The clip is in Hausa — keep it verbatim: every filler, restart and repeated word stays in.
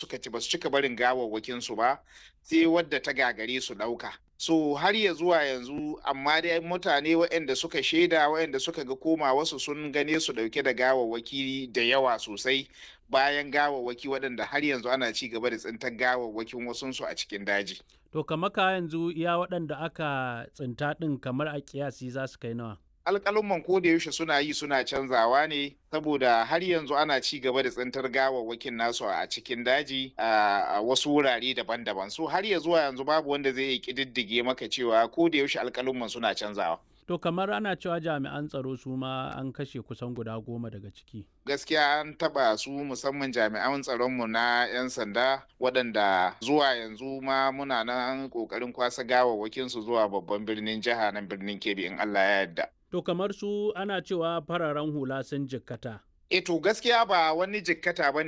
Suka ci, basu cika barin gawawwakin su ba sai wadda ta gagare su ɗauka. So har ya zuwa yanzu, amma dai mutane waɗanda suka shaida, waɗanda suka ga koma wasu, sun gane su ɗauke da gawawwaki da yawa sosai, bayan gawawwaki waɗanda har yanzu ana ci gaba da tsintar gawawwakin wasunsu a cikin daji. To kamar ka yanzu iya waɗanda aka tsinta ɗin, kamar a kiyasi za su kai nawa? Alƙalumman ko da yaushe suna yi suna canzawa ne, saboda har yanzu ana ci gaba da tsintar gawawwakin nasu a cikin daji a wasu wurare daban-daban. So har ya zuwa yanzu babu wanda zai iya ƙididdige maka cewa, ko da yaushe alƙalumman suna canzawa. To kamar ana cewa jami'an tsaro su ma an kashe kusan guda goma daga ciki. Gaskiya an taɓa su, musamman jami'an tsaronmu na 'yan sanda, waɗanda zuwa yanzu ma muna nan ƙoƙarin kwasa gawawwakin su zuwa babban birnin jiha nan birnin Kebbi, in Allah ya yarda. To kamar su ana cewa fararen hula sun jikkata. E, to gaskiya ba wani jikkata ba ne.